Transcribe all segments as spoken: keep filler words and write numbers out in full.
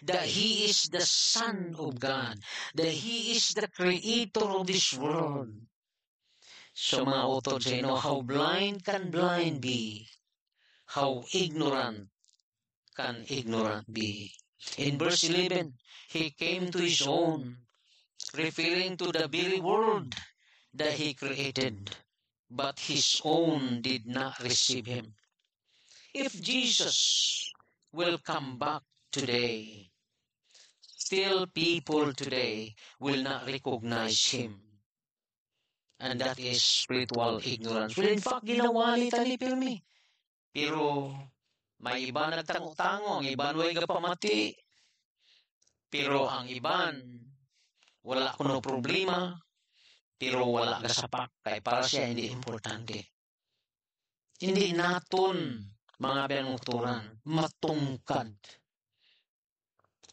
that He is the Son of God, that He is the creator of this world. So, mga utod, you know, how blind can blind be? How ignorant can ignorant be? In verse eleven, He came to His own, referring to the very world that He created, but His own did not receive Him. If Jesus will come back today, still people today will not recognize Him. And that is spiritual ignorance. Well, in fact, ginawali ta ni pirmi. Pero may iban nagtango-tango, ang iban way gapamati. Pero ang iban, wala kuno problema, pero wala gasapak, kay para siya hindi importante. Hindi naton, mga abyan, matungkad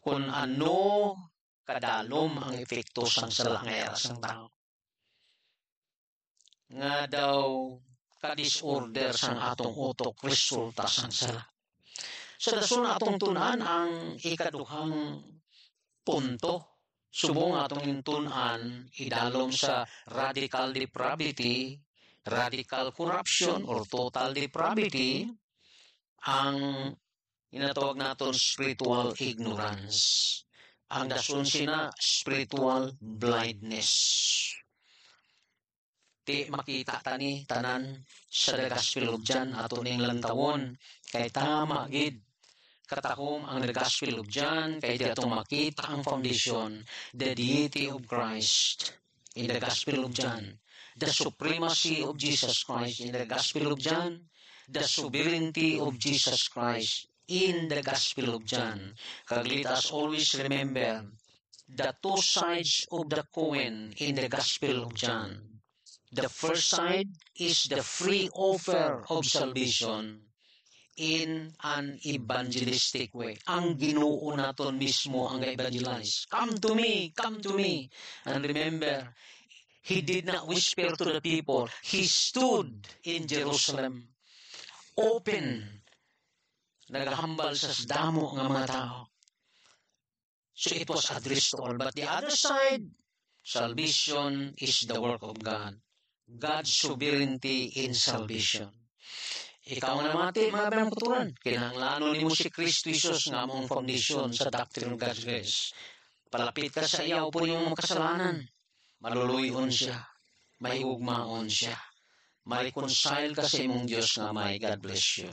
kung ano kadalom ang epekto sang sala nga yara sang tawo. Nga daw ka-disorder sang atong utok resulta sang sala. Sa dason atong tun-an ang ikaduhang punto. Subong atong tun-an, idalom sa radical depravity, radical corruption, or total depravity, ang ginatawag naton spiritual ignorance. Ang dason sina, spiritual blindness. Ti makita ta ni tanan sa The Gospel of John, ato ning lantawon. Kay tama gid, katahom ang The Gospel of John, kay di ato makita ang foundation, the deity of Christ in the Gospel of John, the supremacy of Jesus Christ in the Gospel of John, the sovereignty of Jesus Christ in the Gospel of John. Kag let us always remember the two sides of the coin in the Gospel of John. The first side is the free offer of salvation in an evangelistic way. Ang Ginoo naton mismo ang ga-evangelize. "Come to me, come to me." And remember, he did not whisper to the people. He stood in Jerusalem. Open. Nagahambal sa damo nga mga tao. So it was addressed to all. But the other side, salvation is the work of God. God's sovereignty in salvation. Ikaw nga namati, mga abyan, kinahanglanon nimo si Kristo Jesus nga among foundation sa doctrine of God's grace. Palapit ka sa iya, upod imong mga kasalanan. Maluluy-on siya. Mahigugmaon siya. Ma-reconcile ka sa imong Dios nga Amay. God bless you.